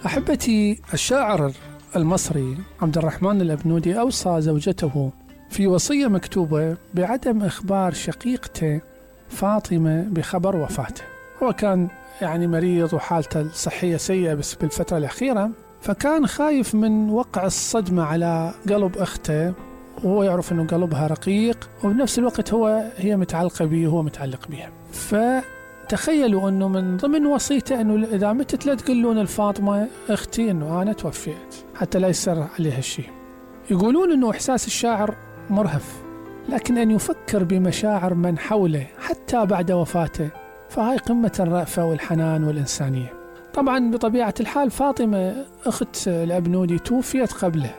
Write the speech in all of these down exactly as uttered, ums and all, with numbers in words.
أحبتي، الشاعر المصري عبد الرحمن الأبنودي أوصى زوجته في وصية مكتوبة بعدم إخبار شقيقته فاطمة بخبر وفاته. هو كان يعني مريض وحالته الصحية سيئة بس بالفترة الأخيرة، فكان خايف من وقع الصدمة على قلب أخته، وهو يعرف أنه قلبها رقيق وبنفس الوقت هو هي متعلقة به وهو متعلق بها. فتخيلوا أنه من ضمن وصيته أنه إذا متت لا تقولون الفاطمة أختي أنه أنا توفيت، حتى لا يسر عليها الشيء. يقولون أنه إحساس الشاعر مرهف، لكن أن يفكر بمشاعر من حوله حتى بعد وفاته فهاي قمة الرأفة والحنان والإنسانية. طبعا بطبيعة الحال فاطمة أخت الأبنودي توفيت قبله،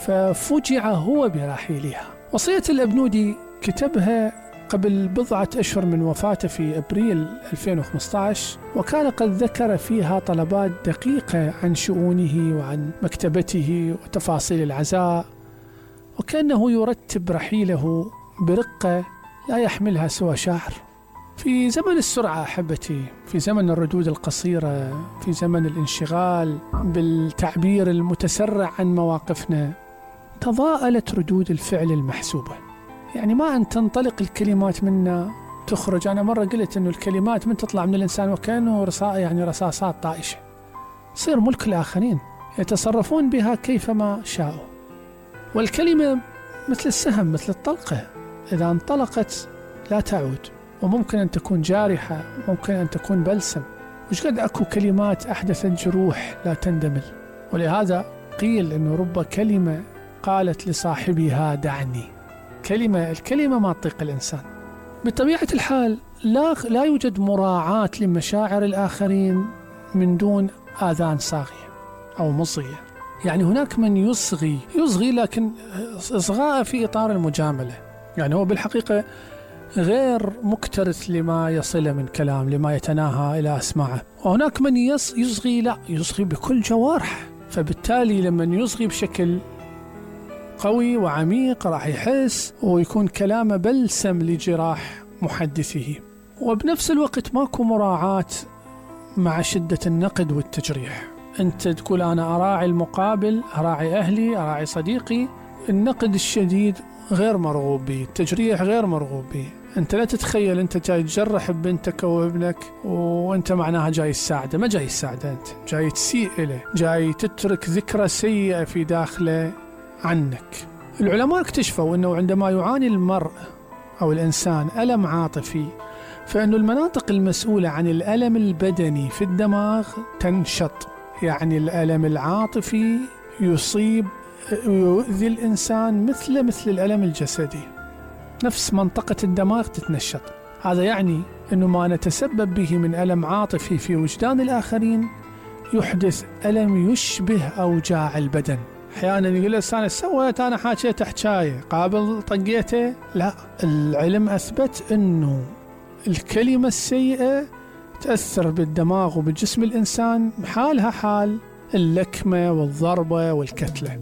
ففجع هو برحيلها. وصية الأبنودي كتبها قبل بضعة أشهر من وفاته في أبريل ألفين وخمسة عشر، وكان قد ذكر فيها طلبات دقيقة عن شؤونه وعن مكتبته وتفاصيل العزاء، وكأنه يرتب رحيله برقة لا يحملها سوى شاعر. في زمن السرعة أحبتي، في زمن الردود القصيرة، في زمن الانشغال بالتعبير المتسرع عن مواقفنا، تضاءلت ردود الفعل المحسوبة. يعني ما أن تنطلق الكلمات منا تخرج. أنا مرة قلت أنه الكلمات من تطلع من الإنسان وكأنه رصاص، يعني رصاصات طائشة، صير ملك الآخرين يتصرفون بها كيفما شاءوا. والكلمة مثل السهم، مثل الطلقة، إذا انطلقت لا تعود، وممكن أن تكون جارحة، ممكن أن تكون بلسم. وش قد أكو كلمات أحدثت جروح لا تندمل. ولهذا قيل أنه رب كلمة قالت لصاحبها دعني. كلمة الكلمة ما تطيق الإنسان. بطبيعة الحال لا, لا يوجد مراعاة لمشاعر الآخرين من دون آذان صاغية أو مصغية. يعني هناك من يصغي يصغي لكن إصغاء في إطار المجاملة، يعني هو بالحقيقة غير مكترث لما يصل من كلام، لما يتناهى إلى أسماعه. وهناك من يصغي لا يصغي بكل جوارح، فبالتالي لما يصغي بشكل قوي وعميق راح يحس ويكون كلامه بلسم لجراح محدثه. وبنفس الوقت ماكو مراعاة مع شدة النقد والتجريح. أنت تقول أنا أراعي المقابل، أراعي أهلي، أراعي صديقي. النقد الشديد غير مرغوب به، التجريح غير مرغوب به. أنت لا تتخيل أنت جاي تجرح بنتك أو ابنك وأنت معناها جاي تساعده، ما جاي تساعده، أنت جاي تسيء له، جاي تترك ذكرى سيئة في داخله عنك. العلماء اكتشفوا أنه عندما يعاني المرء أو الإنسان ألم عاطفي، فإنه المناطق المسؤولة عن الألم البدني في الدماغ تنشط. يعني الألم العاطفي يصيب ويؤذي الإنسان مثل مثل الألم الجسدي، نفس منطقة الدماغ تتنشط. هذا يعني أنه ما نتسبب به من ألم عاطفي في وجدان الآخرين يحدث ألم يشبه أوجاع البدن. أحيانا يقول الإنسان سويت أنا حاجيت حكاية قابل طقيته. لا، العلم أثبت أنه الكلمة السيئة تأثر بالدماغ وبالجسم الإنسان حالها حال اللكمة والضربة والكتلة.